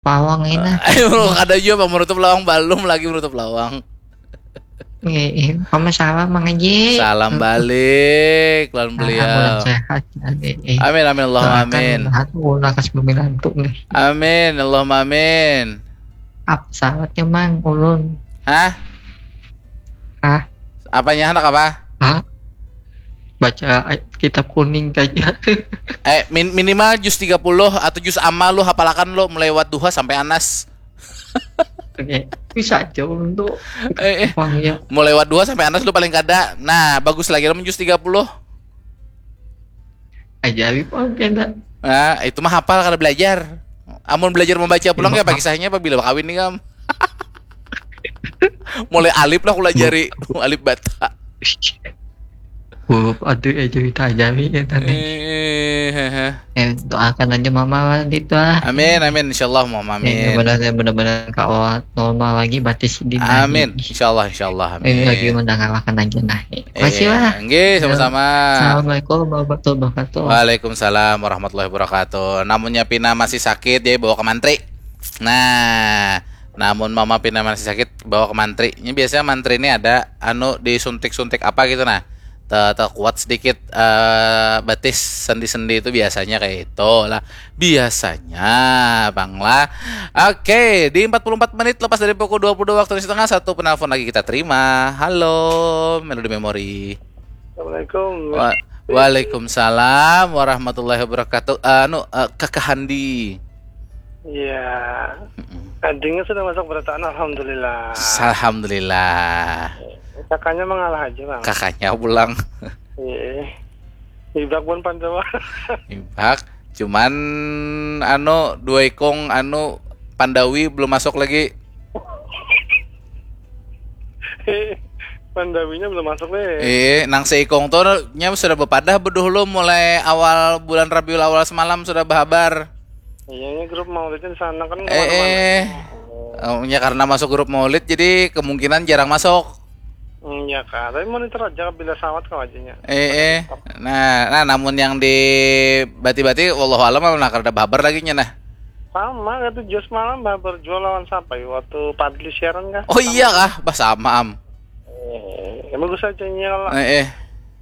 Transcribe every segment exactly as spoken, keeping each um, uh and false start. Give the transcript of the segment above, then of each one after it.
Pawang ini. Ayo, kada jua, Bang, menutup lawang, balum lagi menutup lawang. Eh, eh, kamu salam, Mang Haji. Salam balik lawan beliau. Alhamdulillah sehat. Eh, eh. Amin, amin, Allahumma Doakan amin. Tuhan, ulun lakas bamilantu nih. Amin, Allahumma amin. Apa salatnya, Mang? Ulun. Hah? Hah? Apanya, handak apa? Hah? Baca ay- kitab kuning aja. Eh, min- minimal juz tiga puluh atau juz amma lu hapalakan lu, mulai Wadduha sampai Anas. Oke. Bisa aja ulun tuh. Eh, eh. Pang ya. Mulai Wadduha sampai Anas lu paling kada. Nah, bagus lagi lamun juz tiga puluh. Ajaib, oke, ndak. Nah, itu mah hafal kada belajar. Amun belajar membaca pulang, kayak kisahnya apa bila kawin nih, kam? Mulai alif lah aku lajari, alif bata. Huruf aduh ya, cerita ajaib ya tadi. Eh, hehe. Eh, doakan aja mama gitu ah. Amin, amin, insyaallah, Allahumma Eh, amin. Benar-benar kawa normal lagi batis di Amin, insyaallah, insyaallah, amin. Ini lagi mendengarkan aja nah. Terima kasih Iya. lah. Nggih, sama-sama. Assalamualaikum warahmatullahi wabarakatuh. Waalaikumsalam warahmatullahi wabarakatuh. Namunnya pina masih sakit, jadi bawa ke mantri. Nah, namun mama pina masih sakit, bawa ke mantri. Ini biasanya mantri ini ada anu disuntik-suntik apa gitu nah. Te- Terkuat sedikit eh, batis sendi-sendi itu biasanya kayak itu lah. Biasanya, Bang lah. Oke, di empat puluh empat menit lepas dari pukul dua puluh dua waktu Indonesia Tengah, satu penelpon lagi kita terima. Halo, Melody Memory. Assalamualaikum. Wa- Waalaikumsalam warahmatullahi wabarakatuh. Anu, eh, Kakak Handi. Iya. Adingnya sudah masuk berataan, alhamdulillah. Alhamdulillah. Kakaknya mengalah aja, Bang. Kakaknya pulang. Iya. Ibak pun Pandawa. Ibak. Cuman anu dua ikung anu Pandawi belum masuk lagi. Pandawinya belum masuk nih. Eh, nang seikung tuh nya sudah bepadah beduh lu mulai awal bulan Rabiul Awal semalam sudah berhabar. Iya, ini grup maulidnya di sana kan. Eh, eh. Oh, ya karena masuk grup maulid jadi kemungkinan jarang masuk. Hmm, ya kak, tapi monitor aja bila sawat kau aja nya. Eh, eh. Nah, nah namun yang di bati-bati wallahu alam lah kada berhabar lagi nya nah. Sama itu Jos malam babar jual lawan siapa ya waktu Padli siaran kah? Oh iya kah? Bah sama am. Eh, ya bagus aja nya lah. Eh, eh.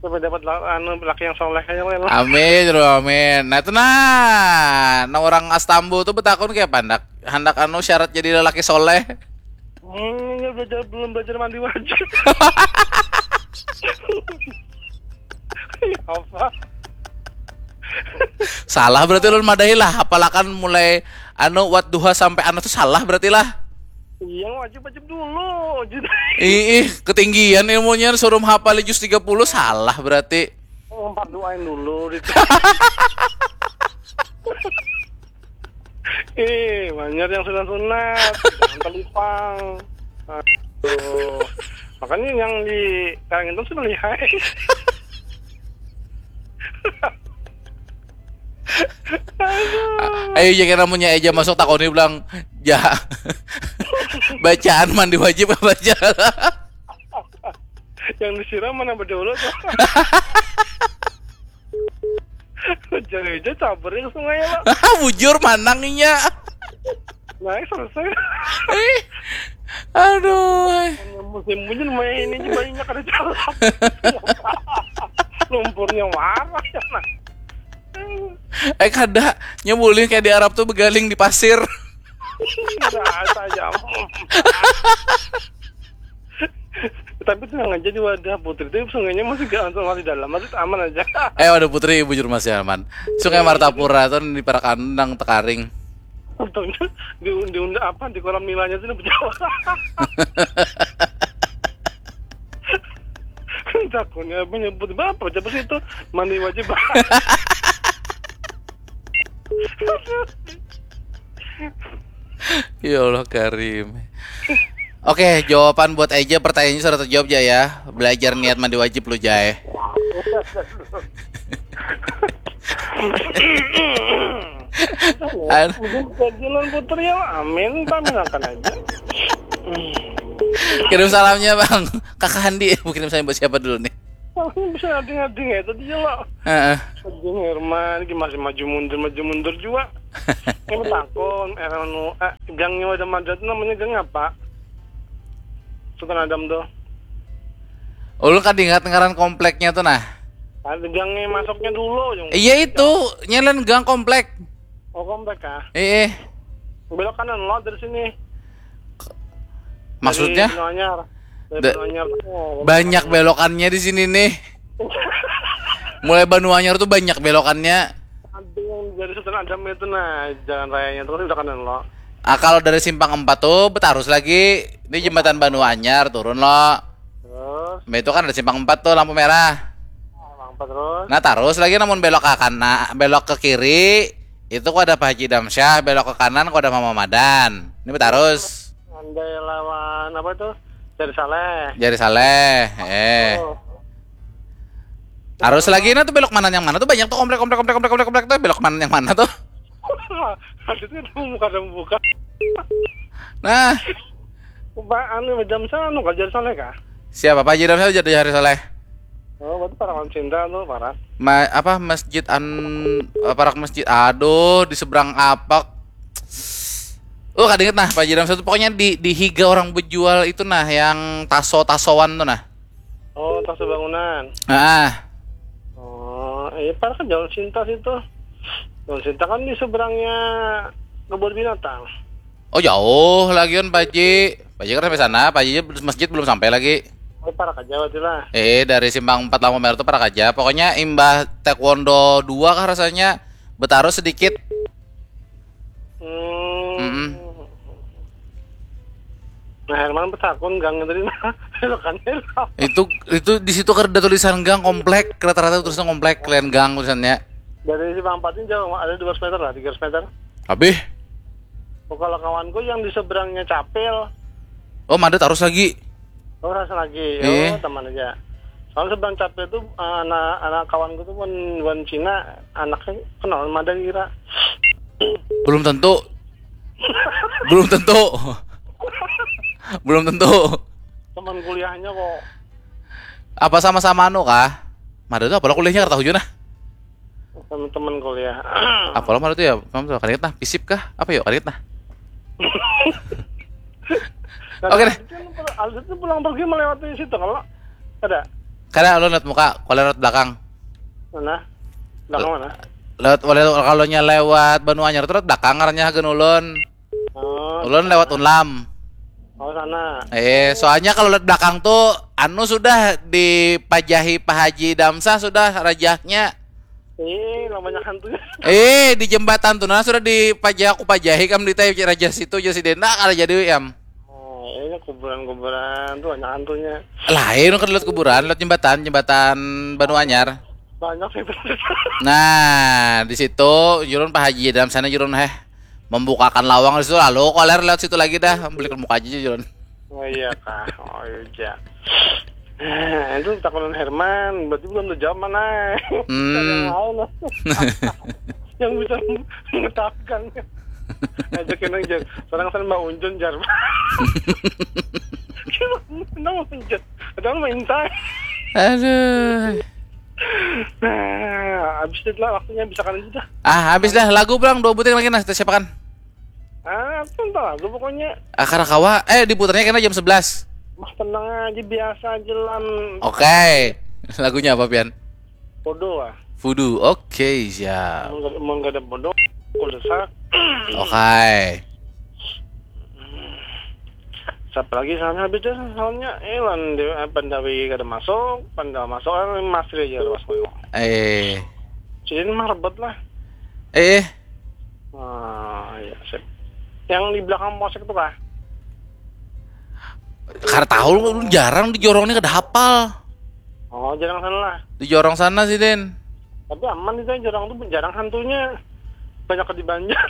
Sampai dapat la- anu laki yang soleh aja lah. Amin, ya Rabbal amin. Nah itu nah, nah orang Astambu tuh betakun kayak pandak, hendak anu syarat jadi lelaki soleh. Hmm, ini belajar belum belajar mandi wajib. Ya apa? Salah berarti ulun madahi lah, apalakan mulai anu Wadduha sampai anu tuh salah berarti lah. Iya, wajib wajib dulu. Jadi Ih, ketinggian ilmunya suruh hafal juz tiga puluh salah berarti. empat doain dulu gitu. Eh, banyak yang sunat-sunat, jangan telipang. Aduh. Makanya yang di Kalimantan sudah lihai. Ayo jika namunnya aja masuk takoni bilang ja bacaan mandi wajib apa aja. Yang disiram mana berdaulat? Jadi aja cabernya ke sungai lah. Bujur manang inya. Naik selesai. Aduh. Musim hujan main ini banyak ada jalan. Lumpurnya warah ya nah. Eh kada, nya boleh kayak di Arab tuh begaling di pasir. Rasa aja. Tapi tenang aja di wadah putri itu sungainya masih gak langsung masih dalam, masih aman aja. Eh wadah putri bujur masih aman. Sungai Martapura tuh di Parakandang tekaring. Untungnya di diundang apa di kolam nilainya tuh berjawab. Takutnya menyebut bapak coba sih itu mandi wajib. Ya Allah Karim. Oke, jawaban buat Eja pertanyaannya sudah terjawab ja ya. Belajar niat mandi wajib lu Jai. Jalan putri ya amin, amin akan aja. Kirim salamnya bang. Kakak Handi, kirim salam buat siapa dulu nih? Bisa ngading-ngading ya tadi ya lo. Heeh. Jung Herman, gimana sih maju mundur, maju mundur juga. Ini takon, eh, anu, eh, gangnya wadah Madra itu namanya gang apa? Sultan Adam tuh. Ulun kada ingat ngaran kompleknya tuh nah. Ada gangnya masuknya dulu, yang Iya itu, nyelan gang komplek. Oh, komplek ah. Eh, eh. Belok kanan lo dari sini. Maksudnya? Dari Benoanyar. Dari Da- Benoanyar. Oh, Banyak belokannya di sini nih. Mulai Benoanyar tuh banyak belokannya. Ada yang dari Sultan Adam itu nah, jalan rayanya terus udah kanan lo. Ah, kalau dari simpang empat tuh betarus lagi di jembatan Benoanyar turun lo. Terus, Mbak itu kan ada simpang empat tuh lampu merah. empat terus. Nah, terus lagi namun belok ke kanan, belok ke kiri itu kok ada Pak Haji Damsyah, belok ke kanan kok ada Mama Madan. Ini betarus. Andai lawan apa tuh? Dari Saleh. Jari Saleh, eh. Oh, Terus lagi nah tuh belok mana yang mana tuh banyak tuh komplek komplek komplek komplek komplek komplek tuh belok mana yang mana tuh. Maksudnya tuh buka dan buka. Nah, Pak anu jam sana anu kajar Saleh kah? Siapa Pak Haji Damsyah jadi Jari Saleh? Oh, berarti para cinta tuh para. Ma, apa masjid an apa rak masjid aduh di seberang apa. Oh, kada inget nah Pak Haji Damsyah tuh pokoknya di di higa orang bejual itu nah yang taso-tasoan tuh nah. Oh, tas bangunan. Ah, Oh, iya para kan jalan cinta situ. Jalan cinta kan di seberangnya kebun binatang. Oh, jauh lagi kan Pak Haji. Pak Haji kan sampai sana, Pak Haji masjid belum sampai lagi. Oh, para kerja berarti lah. Eh, dari simpang empat lampu merah tuh para aja. Pokoknya imbah taekwondo dua kah rasanya betarus sedikit. Hmm. Mm-mm. Nah, Herman betakun gang tadi nah. Belokannya lah. Itu itu di situ kada ada tulisan gang komplek, rata-rata tulisan komplek, lain gang tulisannya. Dari simpang empat ini jauh, ada dua ratus meter lah, tiga ratus meter. Habis. Oh, kalau kawanku yang di seberangnya Capil, Oh, Mada terus lagi. oh rasa lagi, Eh. Oh teman aja. Soalnya seberang Capil tuh eh, anak anak kawanku tuh wan wan Cina, anaknya kenal Mada kira. Belum tentu. Belum tentu. Belum tentu. Teman kuliahnya kok. Apa sama-sama anu kah? Mada tuh apalah kuliahnya kada tahu juga nah. Teman-teman kuliah. Apalah Mada tuh ya? Kamu tuh kada ingat nah, fisip kah? Apa ya? Kada ingat nah. Oke deh. Aldi tuh pulang pergi melewati situ kalau ada. Kada ulun lihat muka, kalau lihat belakang. Mana? Belakang mana? Lewat kalau nya lewat Banua Anyar tuh lewat belakang ngarannya hagan ulun. Oh, Ulun lewat Unlam. Oh sana. Eh, soalnya kalau lihat belakang tuh anu sudah dipajahi Pak Haji Damsah sudah rajahnya. Ih, lah banyak hantunya. Eh, di jembatan tuh nah sudah dipajahi aku pajahi kam di tai raja situ aja si Denda kada jadi am. Oh, ini kuburan-kuburan tuh banyak hantunya. Lain kan lihat kuburan, lihat jembatan, jembatan Banua Anyar. Banyak sih itu. Nah, di situ jurun Pak Haji dalam sana jurun heh membukakan lawang di situ lalu koler lewat situ lagi dah beli muka aja jurun. Oh iya kah? Oh iya. Eh, itu takunan Herman, berarti belum terjawab mana? Hmm. Yang lain lah. Yang bisa mengetahukan. Ajakin aja. Seorang sana Mbak Unjun jar. Kenapa Unjun? Ada main tay. Aduh. Nah, habis itu lah waktunya bisa kalian sudah. Ah, habis dah lagu pulang dua buting lagi nah siapa kan? Ah, entah lagu pokoknya. Ah, karakawa. Eh, diputarnya kena jam sebelas. Mas tenang aja biasa aja lan. Oke. Lagunya apa pian? Bodoh ah. Fudu. Oke, siap. Mau nggak mau nggak ada bodoh. Aku desak. Oke. Siapa lagi soalnya habis dah soalnya eh lan Dewi eh, Pandawi kada masuk, Pandawa masuk kan Mas Ria aja masuk. Eh. Jadi mah rebut lah. Eh. Ah, iya sip. Yang di belakang posek tuh kah? Kada tahu lu jarang di jorong ini kada hafal. Oh, jarang sana lah. Di jorong sana sih, Den. Tapi aman itu yang jorong tuh jarang hantunya. Banyak di Banjar.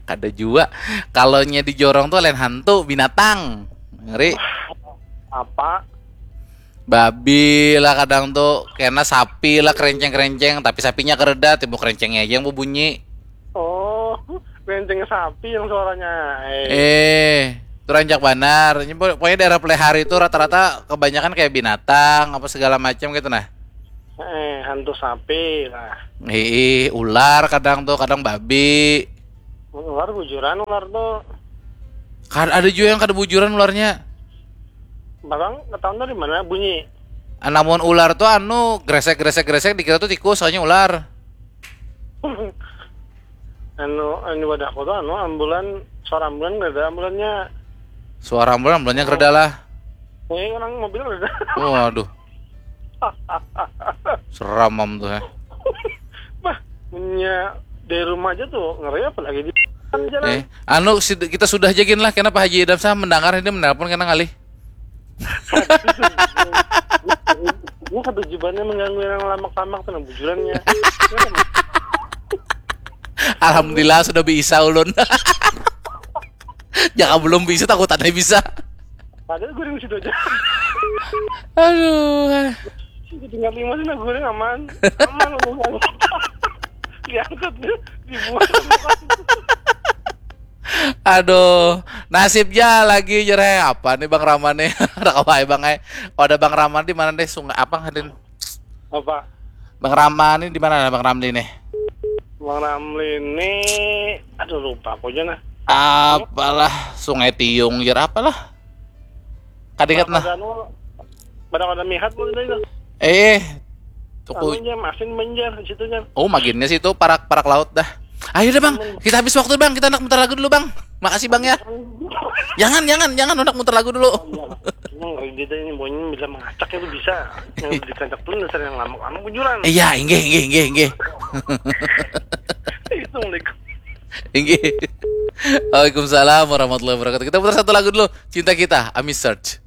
Kada jua. Kalau nya di jorong tuh lain hantu, binatang. Ngeri. Apa? Babi lah kadang tuh kena sapi lah kerenceng-kerenceng tapi sapinya kereda timbuk kerencengnya aja yang berbunyi. Oh, kerencengnya sapi yang suaranya. Eh. Eh, Itu rancak banar. Ini po- pokoknya daerah Plehari itu rata-rata kebanyakan kayak binatang apa segala macam gitu nah. Eh, hantu sapi lah. Hiih, ular kadang tuh, kadang babi. Ular bujuran ular tuh. Kan ada juga yang kada bujuran ularnya. Barang ketahuan dari mana bunyi? Ah, namun ular tuh anu gresek gresek gresek dikira tuh tikus, soalnya ular. Anu, ini wadahku tuh anu ambulan, suara ambulan nggak ada ambulannya. Suara ambulan, ambulannya kereda lah. Ini orang mobil nggak ada. Waduh. Seram am tuh ya. Bah, punya dari rumah aja tuh ngeri, apalagi di jalan. Eh, anu si- kita sudah jagin lah, kenapa Haji Idam sah mendengar ini menelpon kena ngalih. Ini ketujuannya mengganggu yang lamak-lamak tuh nah bujurannya. Alhamdulillah sudah bisa ulun. Jaka belum bisa, takut ada bisa. Padahal goreng situ aja. Aduh. Tinggal lima sih nah goreng aman. Aman aman. Diangkat dia, dibuang. Aduh, nasib ja lagi jereh apa nih Bang Rama nih? Ada kawai Bang eh. Oh, ada Bang Rama di mana deh? Sungai apa hadin? Apa? Bang Rama nih di mana Bang Ramli nih? Bang Ramli ini, aduh lupa aku aja nah. Apalah Sungai Tiung jer apalah? Kadingat nah. Pada anu, pada pada mihat pun itu. Eh, Anu tuku. Nya masin menjar di situ nya. Oh, maginnya situ parak parak laut dah. Ayo deh Bang, kita habis waktu Bang, kita nak muter lagu dulu Bang. Makasih Bang ya. Jangan jangan jangan, nak muter lagu dulu. Yang ngeri dia ini maunya bila mengacak itu bisa. Yang dikacak pun dasar yang lama-lama bujuran. Iya, inggih inggih inggih inggih. Itu mereka. Inggih. Waalaikumsalam warahmatullahi wabarakatuh. Kita putar satu lagu dulu. Cinta Kita, Ami Search.